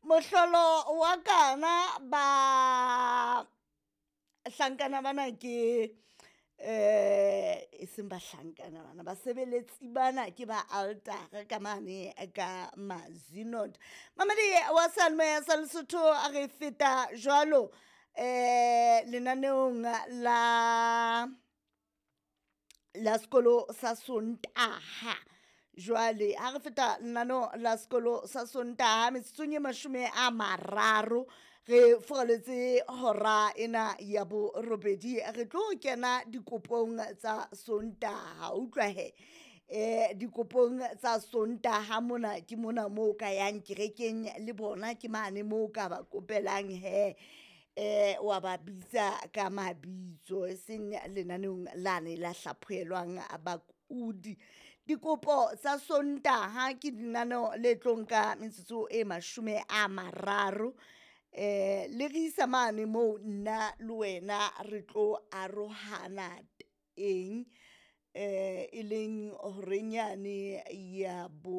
Mohlolo wa kana ba hlankana bana ke e seng bahlankana bana, basebeletsi bana ke ba altara ka mane ka Mazenod. Mamedi wa seyalemoya sa Lesotho, a re feta jwalo lenaneong la la sekolo sa Sontaha. Jwale ha re feta lenaneo la sekolo sa Sontaha metsotsong e 30 re furaletse hora ena ya borobedi, re tlo kena dikopong tsa Sontaha. Utlwa he, dikopong tsa Sontaha mona ke mona moo ka yang kerekeng le bona, ke mane moo ka ba kopelang he, wa ba bitsa ka mabitso, e seng lenaneong lane la hlaphohelwang bakudi. Dikopo tsa Sontaha ke lenaneo le tlo nka metsotso e 30, le re isa mane moo nna le wena re tlo arohana teng, e leng horeng yane ya bo.